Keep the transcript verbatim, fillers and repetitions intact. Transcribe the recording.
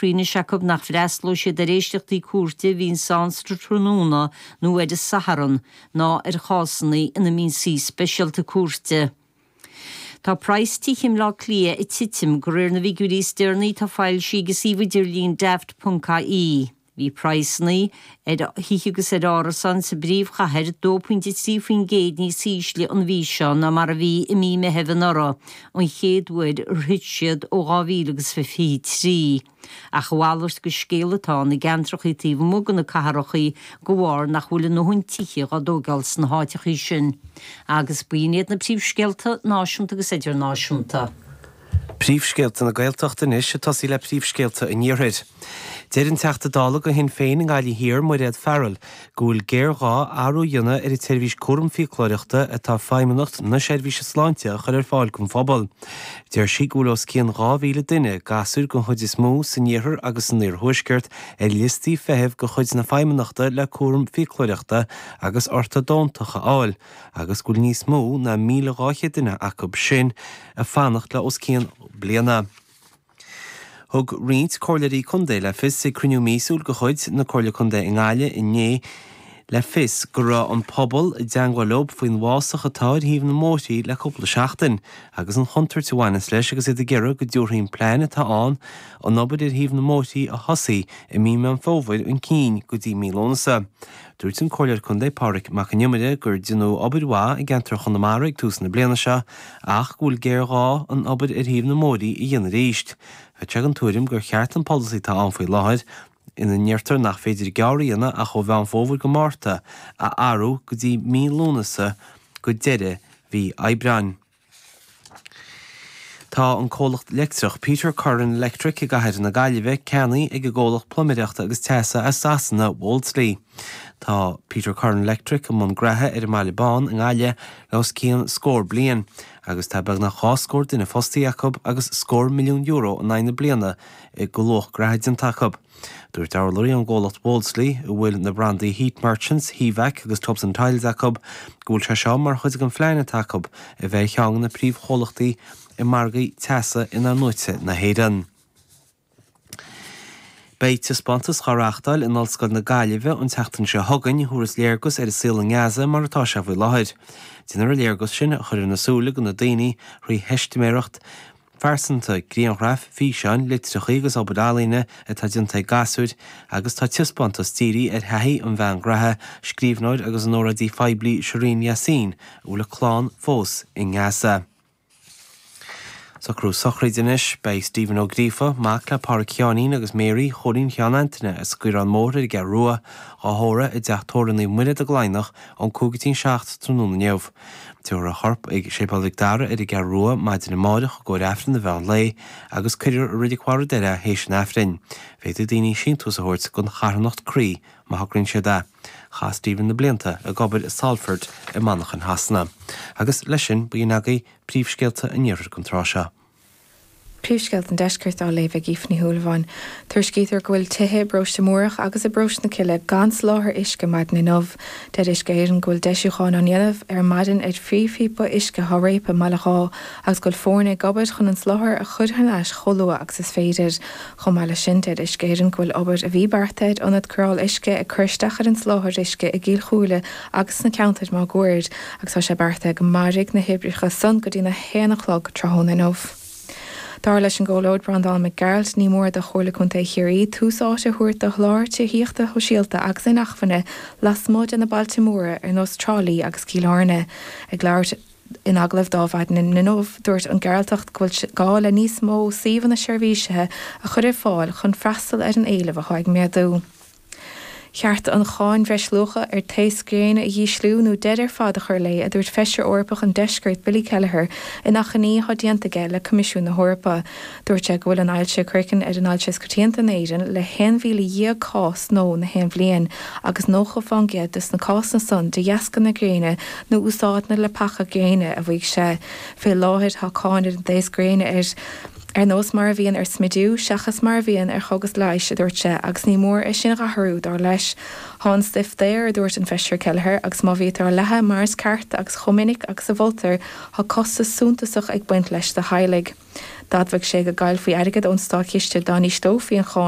Anois acu nach bhfreastalóidh siad ar éisteachtaí cúirte a bhíonn ann sa tráthnóna nó ar an Satharn ná ar chásanna ina mbíonn suí speisialta cúirte. Tá praghas tithe i mBleá Cliath ag titim de réir na bhfigiúirí is deireanaí atá foilsithe ag an suíomh idirlín daft.ie. Bhí praghsanna ar thithe agus ar árasáin sa bpríomhchathair dó pointe trí faoin gcéad níos ísle an mhí seo ná mar a bhí i mí Mheithimh anuraidh, an chéad uair ar thit siad ó dhá mhíle agus fiche trí. Ach a mhalairt de scéal atá ann i gceantracha taobh amuigh de na cathracha de bharr nach bhfuil a ndóthain tithe á dtógáil sna háiteacha sin. Agus b'in iad na príomhscéalta náisiúnta agus idirnáisiúnta. Príomhscéalta na Gaeltachta anois ag tosaí le príomhscéalta an Iarthair. Deir an Teachta Dála do Shinn Féin i nGaillimh Thiar, Mairéad Farrell, go bhfuil géarghá athrú a dhéanamh ar an tseirbhís cúram fiaclóireachta atá Feidhmeannacht na Seirbhíse Sláinte a chur ar fáil don phobal. Deir sí go bhfuil os cionn dhá mhíle duine, gasúir den chuid is mó, san iarthar agus san iarthuaisceart ar liostaí feithimh de chuid na Feidhmeannachta le cúram fiaclóireachta agus ortadontach a fháil agus go bhfuil níos mó ná míle dhá chéad duine acu sin ag fanacht le os cionn bliana. Thug roinnt comhairleoirí contae le fios ag cruinniú míosúil de chuid na Comhairle Contae i nGaillimh inné le fios go raibh an pobal i dteangmháil leo faoin bhfásach atá ar thaobh na mbóithrí le cúpla seachtain agus an chontúirt a bhaineas leis agus iad ag iarraidh go dtabharfaí an plean atá ann an obair ar thaobh na mbóithrí a thosaigh i mí Meán Fómhair chun cinn go dtí mí Lúnasa. Dúirt an Comhairleoir Contae Pádraig Mac an Iomaire gur déanadh obair mhaith i gceantar Chonamara ag tús na bliana seo ach go bhfuil géarghá an obair ar thaobh na mbóithrí a dhéanamh arís. Bheadh sé den tuairim gur cheart an polasaí atá ann faoi láthair, ina ndeirtear nach féidir gearradh a dhéanamh ach ó Mheán Fómhair go Márta, a athrú go dtí mí Lúnasa go deireadh mhí Aibreáin. Tá an comhlacht leictreach Peter Curran Electric i gcathair na Gaillimhe ceannaithe ag an gcomhlacht pluiméireachta agus teasa as Sasana, Wolseley. Tá Peter Curran Electric i mbun graithe ar an mBaile Bán i nGaillimh le os cionn scór bliain agus tá beagnach dhá scór duine fostaithe acu agus scór milliún euro in aghaidh na bliana de luach graithe déanta acu. Dúirt urlabhraí ón gcomhlacht Wolseley, a bhfuil na brandaí Heat Merchants, Hevac agus Tubs and Tiles acu, go bhfuil sé seo mar chuid den phlean atá acu a bheith ar cheann de na príomhchomhlachtaí i margaí teasa in-athnuaite na hÉireann. Beidh taispeántas á reáchtáil in Ollscoil na Gaillimhe an tseachtain seo chugainn a thabharfas léargas ar an saol i nGaza mar atá sé faoi láthair. Déanfar an léargas sin a chur ar na súile de na daoine thrí theistiméireacht phearsanta, grianghraif, físeáin, litreacha agus obair ealaíne atá déanta ag gasúir agus tá taispeántas dírithe ar thaithí an bhean ghraithe, scríbhneoir agus an óráidí phoiblí Shireen Yassin, a bhfuil a clann fós i nGaza. Socrú sochraide anois. Beidh Stephen Ó Gríofa, mac le Pádraic Sheáinín agus Mary Chóilín Sheáin Antaine as Gaorán Mór ar an gCeathrú Rua, á thórramh i dTeach Tórraimh Naomh Muire i dTug Laighneach ón cúig go dtí an seacht tráthnóna inniu. Tabharfar a chorp ag Séipéal Mhic Dara ar an gCeathrú Rua maidin amárach i gcomhair Aifreann an mheán lae agus cuirfear i Reilig Bharr an Doire é théis an Aifrinn. Féadfaidh daoine síntiús a thabhairt don charthanacht Croí má thograíonn siad é. Chaith Stephen na blianta ag obair i Salford i Manchain Shasana. Agus leis sin, b'in agaibh príomhscéalta an iarthair don tráth seo. Príomhscéalta an Deiscirt á léamh ag Aoife Ní Shúilleabháin. Tuairiscítear go bhfuil tithe i bparóiste Múrach agus i bparóiste na Cille gan soláthar uisce maidin inniu. Deir Uisce Éireann go bhfuil deisiúcháin á ndéanamh ar maidin ar phríomhphíopa uisce atá réabtha i mBaile Dháith agus go bhfuil foirne ag obair chun an soláthar a chur thar n-ais chomh luath agus is féidir. Chomh maith leis sin, deir Uisce Éireann go bhfuil obair a bhí beartaithe ar ionad cóireáil uisce ag cur isteach ar an soláthar uisce i gCill Chúile agus sna ceantair máguaird agus tá sé beartaithe go mairfidh na hoibreacha san go dtí a haon a chlog tráthnóna inniu. Dar leis an gComhairleoir Breandán Mac Gearailt, ní mór do Chomhairle Contae Chiarraí tús áite a thabhairt do sholáthar tithíochta shóisialta agus inacmhainne lasmuigh de na bailte móra ar nós Trá Lí agus Cill Airne. Ag labhairt in agallamh do Adhmhaidin inniu, dúirt an Gearaltach go bhfuil gá le níos mó suíomhanna seirbhísithe a chur ar fáil chun freastal ar an éileamh atá ag méadú. Cheart an cháin bhreisluacha ar taos gréine a dhísliú nó deireadh ar fad a chur léi, a dúirt Feisire Eorpach an Deiscirt Billy Kelleher in achainí atá déanta aige le Coimisiún na hEorpa. Dúirt sé go bhfuil an ailse chraicinn ar an ailse is coitianta in Éirinn le haon mhíle dhéag cás nua na haon bhliain agus nócha faoin gcéad de na cásanna san de dheasca na gréine nó úsáid na leapacha gréine, a mhaígh sé. Fé láthair tá cáin ar an taos gréine ar Ar nós mar a bhíonn ar smidiú, seachas mar a bhíonn ar chógas leighis, a dúirt sé, agus ní mór é sin a athrú, dar leis. Tá an stuif daor, a dúirt an Feisire Kelleher, agus má bhítear á leathadh mar is ceart agus chomh minic agus a mholtar, tá costas suntasach ag baint leis do theaghlaigh. D'admhaigh sé go gcaillfí airgead ón státchiste dá n-ísleofaí an cháin,